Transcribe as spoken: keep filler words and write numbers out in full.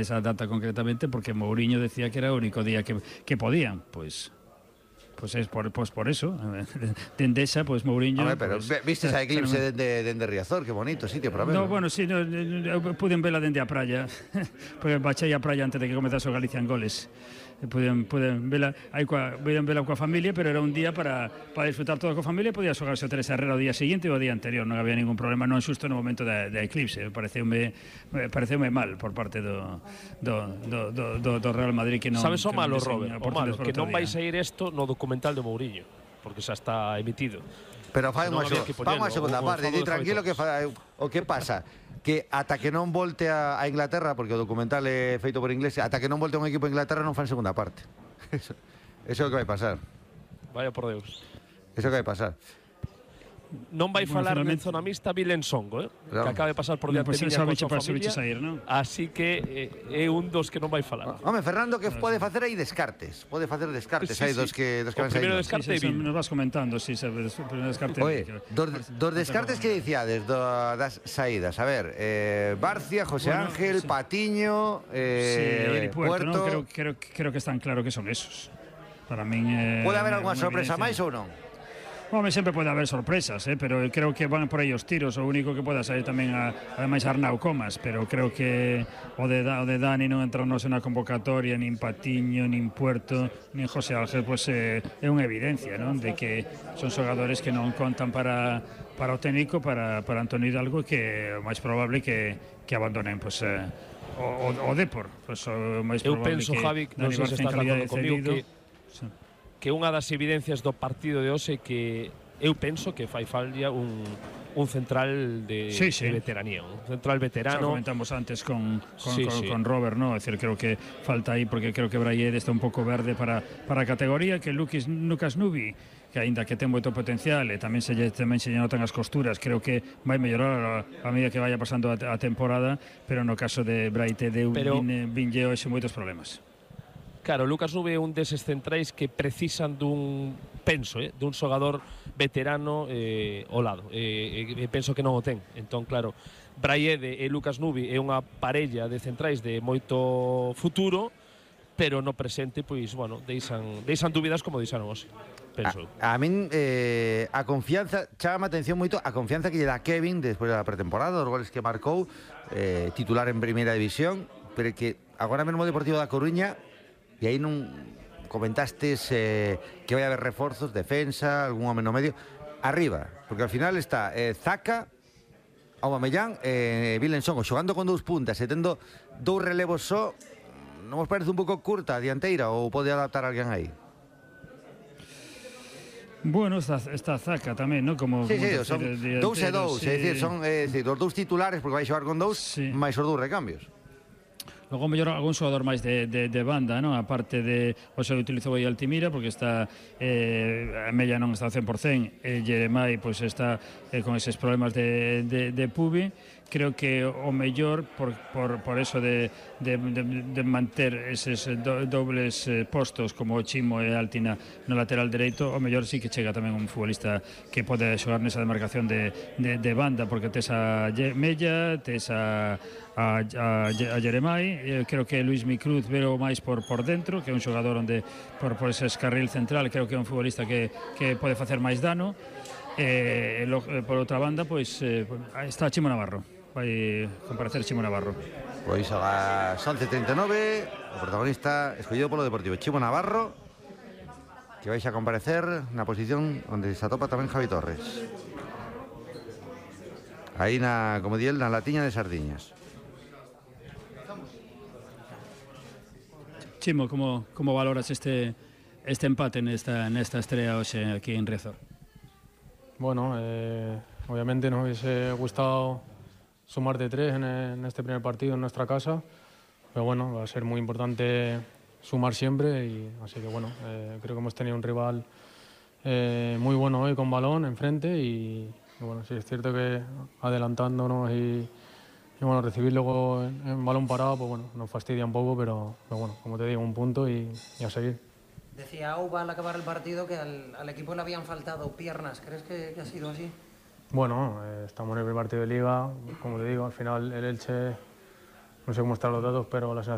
esa data concretamente, porque Mourinho decía que era o único día que, que podían, pois... Pues es por, pues por eso, de Endesa, pues Mourinho... Hombre, pero pues, viste esa eclipse de, de, de Riazor, que bonito sitio para verlo. No, bueno, sí, no, no, pueden verla dende a praia, porque bachei a praia antes de que comezase o Galicia en goles. Pueden, pueden verla, aí coa, pueden verla coa familia, pero era un día para, para disfrutar todo coa familia e podía xogarse o Teresa Herrera o día seguinte ou o día anterior, non había ningún problema, non xusto no momento da, da eclipse. Pareceume, pareceume mal por parte do, do, do, do, do Real Madrid que non... Sabes o non malo, Robert? O malo, que non día. vai sair isto no documental de Mourinho, porque xa está emitido. Pero fai unha segunda parte, di tranquilo que fa, o que pasa que ata que non volte a, a Inglaterra, porque o documental é feito por inglés, ata que non volte un equipo a Inglaterra non fan segunda parte. Eso, eso é o que vai pasar. Vaya por Deus. Eso é o que vai pasar. Non vai Bueno, falar finalmente... del zonamista Vilen Songo, eh? Claro. Que acaba de pasar por diante no, pues, miña con súa familia, sair, ¿no? Así que eh, é un dos que non vai falar. Home, Fernando, que pode facer aí descartes, pode facer descartes, sí, hai sí. dos que, dos que O van primeiro saindo. descarte sí, sí, Bill. nos vas comentando, sí, sabes, o primeiro descarte. Oye, dos, dos descartes que dicíades do, das saídas, a ver, eh, Barcia, José Bueno, Ángel, sí. Patiño, eh, sí, Puerto, Puerto... ¿no? creo, creo, creo que están claro que son esos. Para min eh, Pode haber alguna sorpresa máis ou non? Home, sempre pode haber sorpresas, eh, pero creo que van por aí os tiros. O único que poda sair tamén a, ademais Arnau Comas, pero creo que o de, o de Dani non entrarnos na convocatoria, nin Patiño, nin Puerto, nin José Ángel, pues, eh, é unha evidencia, non? De que son xogadores que non contan para, para o técnico, para, para Antonio Hidalgo, que é o máis probable que, que abandonen, pues, eh, o, o, o Depor. Pues, o máis Eu probable penso, que Javi, non sei se estás de acordo comigo, que sí. que unha das evidencias do partido de hoxe que eu penso que fai falta un, un central de, sí, sí. de veteranía, un central veterano. Xa comentamos antes con, con, sí, con, sí. con Robert, ¿no? Es decir, creo que falta aí, porque creo que Brayed está un pouco verde para, para a categoría, que Lucas, Lucas Nubi, que aínda que ten moito potencial e tamén se lle, tamén se lle notan as costuras, creo que vai mellorar a, a medida que vaya pasando a, a temporada, pero no caso de Braite de pero... vin, vinlle hoxe moitos problemas. Claro, Lucas Nube é un deses centrais que precisan dun, penso, eh, dun xogador veterano eh, ao lado. Eh, eh, penso que non o ten. Entón, claro, Braiede e Lucas Nube é unha parella de centrais de moito futuro, pero no presente, pois, bueno, deixan, deixan dúbidas como deixaron hoxe. Penso. A, a min eh, a confianza, chama a atención moito a confianza que lle dá Kevin despois da pretemporada, os goles que marcou, eh, titular en primeira división, pero que agora mesmo o Deportivo da Coruña. E aí non comentastes eh, que vai haber reforzos, defensa, algún home no medio, arriba, porque ao final está eh, Zaka, Aubameyang e eh, Vilen Songo xogando con dous puntas e tendo dous relevos só, non vos parece un pouco curta a dianteira ou pode adaptar alguén aí? Bueno, está, está Zaka tamén, ¿no? Como, sí, como sí, son decir, dous e dous, sí. é dicir, son eh, decir, os dous titulares porque vai xogar con dous, sí. máis os dous recambios. Logo mellor algún xogador máis de, de, de banda, non? A parte de o xe utilizou aí Altimira porque está eh, a Mella non está ao cen por cen e Jeremai pois pues, está eh, con eses problemas de, de, de pubi. Creo que o mellor por, por, por eso de, de, de, de manter eses do, dobles eh, postos como o Chimo e Altina no lateral dereito, o mellor sí que chega tamén un futbolista que pode xogar nesa demarcación de, de, de banda, porque tes a Mella, tes a, a, a, a Jeremai, eh, creo que Luis Micruz veo máis por, por dentro, que é un xogador onde por, por ese carril central creo que é un futbolista que, que pode facer máis dano. Eh, lo, eh, por outra banda, pois eh, está Chimo Navarro. Vai comparecer Chimo Navarro. Pois a las once e trinta e nove o protagonista escollido polo Deportivo, Chimo Navarro, que vais a comparecer na posición onde se atopa tamén Javi Torres, aí na, como di el, na latiña de sardiñas. Chimo, como, como valoras este, este empate nesta, nesta estrella hoxe aquí en Riazor? Bueno, eh, obviamente nos hubiese gustado sumar de tres en, en este primer partido en nuestra casa, pero bueno, va a ser muy importante sumar siempre, y así que bueno, eh, creo que hemos tenido un rival eh, muy bueno hoy con balón enfrente, y, y bueno, sí es cierto que adelantándonos y, y bueno, recibir luego en, en balón parado, pues bueno, nos fastidia un poco, pero, pero bueno, como te digo, un punto y, y a seguir. Decía Auba al acabar el partido que al, al equipo le habían faltado piernas, ¿crees que, que ha sido así? Bueno, eh, estamos en el primer partido de Liga, como te digo, al final el Elche no sé cómo están los datos, pero la sensación